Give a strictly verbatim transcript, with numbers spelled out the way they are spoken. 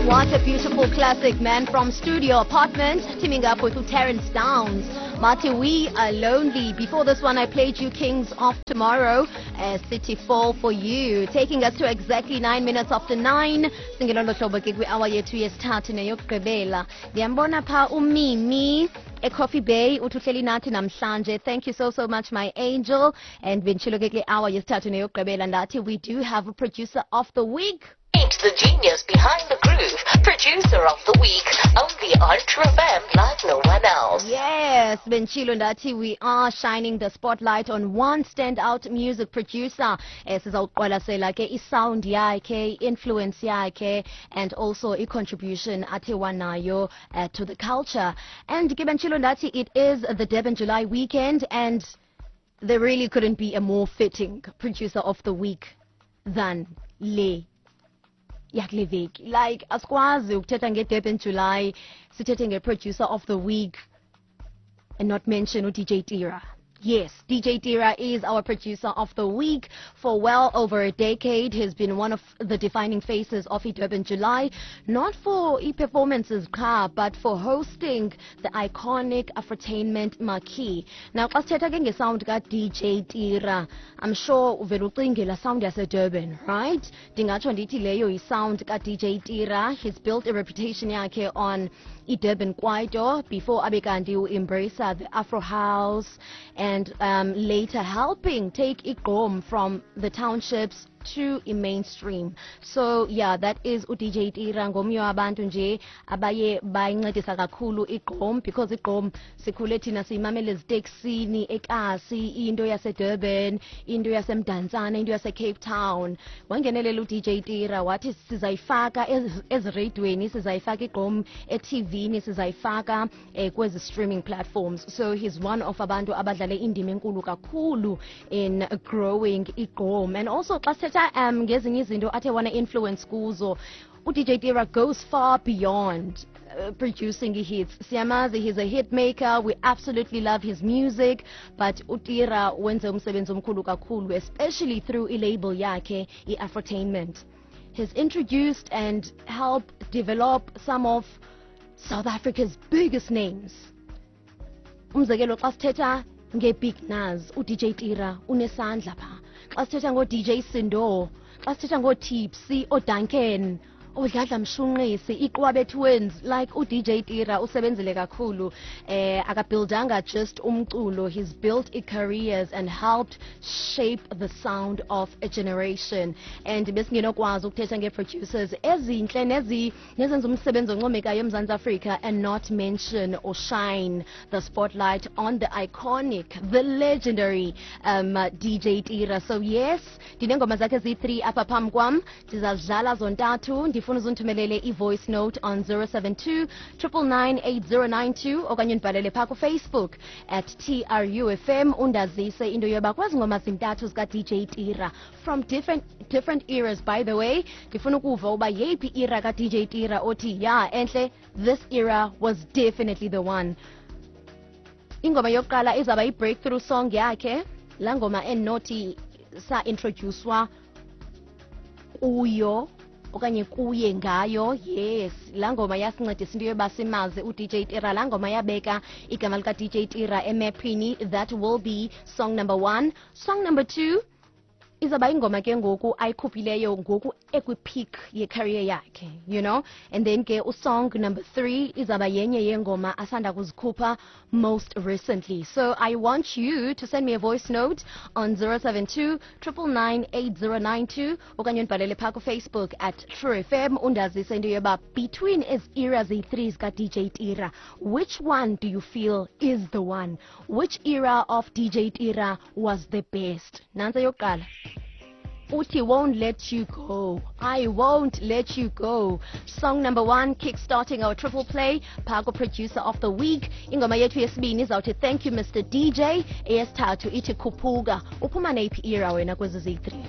What a beautiful classic, man, from Studio Apartment, teaming up with Terence Downs. Marty, we are lonely. Before this one, I played you Kings of Tomorrow, uh, City Fall for You, taking us to exactly nine minutes after nine. Singelo hlobo ke kwi-hour yethu yesithathu neyokugqibela. Ndiyambona pha uMimi eCoffee Bay uthi uhleli nathi namhlanje. Thank you so so much my angel. And benditshilo ke kule hour yesithathu neyokugqibela ndathi we do have a producer of the week. Meet the genius behind the groove, producer of the week, only on True FM like no one else. Yes, benditshilo ndathi we are shining the spotlight on one standout music producer. Eh sizawuqwalasela ke isound yakhe, influence yakhe and also i-contribution athe wanayo uh, to the culture. And ke benditshilo ndathi it is the Durban July weekend and there really couldn't be a more fitting producer of the week than le yakule veki like asikwazi ukuthetha nge-Durban July sithethe nge-producer of the week and not mention u-DJ Tira. Yes, DJ Tira is our producer of the week for well over a decade. He's been one of the defining faces of Durban July, not for e-performances qha, but for hosting the iconic Afrotainment Marquee. Now, xa sithetha ke ngesound ka-DJ Tira, I'm sure uvele ucinge la sound yase-Durban, right? Ndingatsho ndithi leyo yisound ka-DJ Tira. He's built a reputation yakhe on i-Durban Kwaito before abe kanti u-embrace the Afro House and um, later helping take igqom from the townships to i-mainstream. So yeah, that is u-DJ Tira ngomnye wabantu nje abaye bayincedisa kakhulu igqom because igqom sikhule thina siyimamela eziteksini ekasi into yaseDurban into yaseMdantsane into yaseCape Town wangenelela u-DJ Tira wathi sizayifaka ezi- ezireyidweni sizayifaka igqom e-TV-ni sizayifaka eh, kwezi streaming platforms so he's one of abantu abadlale indima enkulu kakhulu in growing igqom and also xa sithetha um ngezinye izinto athe wana influence kuzo u-DJ Tira goes far beyond uh, producing hits. Siyamazi, he's a hit maker. We absolutely love his music. But uTira wenze umsebenzi omkhulu kakhulu, especially through i-label yakhe, i-Afrotainment. He's introduced and helped develop some of South Africa's biggest names. Umzekelo xa sithetha nge-Big Nuz, u-DJ Tira unesandla pha. Xa sithetha ngo-DJ Sindo, xa sithetha ngoo-Tipsy, ooDuncan, oDladla Mshunqisi, iQwabe Twins, like u-DJ Tira usebenzile kakhulu. Eh akabuildanga just umculo, he's built i-careers and helped shape the sound of a generation. And besingenokwazi ukuthetha ngee-producers ezintle nezi nezenza umsebenzi oncomekayo eMzantsi Afrika and not mention or shine the spotlight on the iconic, the legendary um, DJ Tira. So yes, ndinengoma zakhe eziyi-three apha phambi kwam ndizazidlala zontathu ndifuna uzundithumelele i-voice note on zero seven two triple nine eight zero nine two okanye undibhalele phaa kufacebook at TRUFM undazise into yoba kwezi ngoma zintathu zika-DJ Tira from different different eras by the way ndifuna ukuva uba yeyiphi era ka-DJ Tira othi ya entle this era was definitely the one ingoma yokuqala izawuba yi-breakthrough song yakhe laa ngoma endinothi sa-introducewa kuyo okanye kuye ngayo yes laa ngoma yasincedisa into yoba simazi u-DJ Tira laa ngoma yabeka igama lika-DJ Tira emephini that will be song number one song number two izawuba ingoma ke ngoku ayikhuphileyo ngoku ekwi-peak ye-career yakhe you know and then ke usong number three izawuba yenye yeengoma asanda kuzikhupha most recently so i want you to send me a voice note on zero seven two triple nine eight zero nine two okanye undibhalele phaa kufacebook at true fm undazise into yoba between ezi era ziyi-three zika-dj tira which one do you feel is the one which era of dj tira was the best nantsi eyokuqala uthi won't let you go i won't let you go song number one kick-starting our triple play phako producer of the week ingoma yethu yesibini izawuthi thank you mr dj eyesithathu ithi khuphuka uphuma neyiphi era wena kwezi ziyi-three